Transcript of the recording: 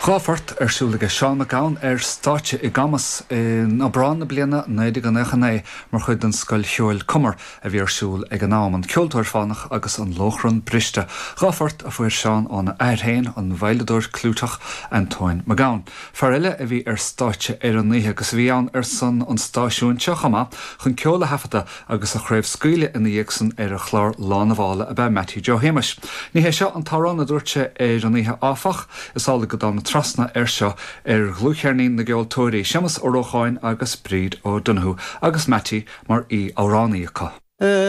Dá phort ar siúl aige Seán Mac Gabhann ar stáitse i gCamus in Aibreán na bliana 1999 mar chuid den Scoil Cheoil Cumar a bhí ar siúl ag an am, An Ceoltóir Fánach agus An Lóchrann Briste. Dhá phort a fuair Seán óna athair féin, an veidhleadóir clúiteach Antóin Mac Gabhann. Fear eile a bhí ar stáitse ar an oíche agus a bhí ann ar son an stáisiúin seo chomh maith chun ceol a thaifeadadh agus a chraobhscaoileadh ina dhiaidh san ar a chlár Lá na bhFála ab ea Mattie Joe Shéamuis. Ní hé seo an t-amhrán a dúirt sé ar an oíche áfach, is amhlaidh go dtána trasna air seo ar dhlúthcheirnín na gceoltóirí, Séamus Ó Rócháin agus Bríd O'Donoghue, agus Mattie mar aoi-amhránaí acu.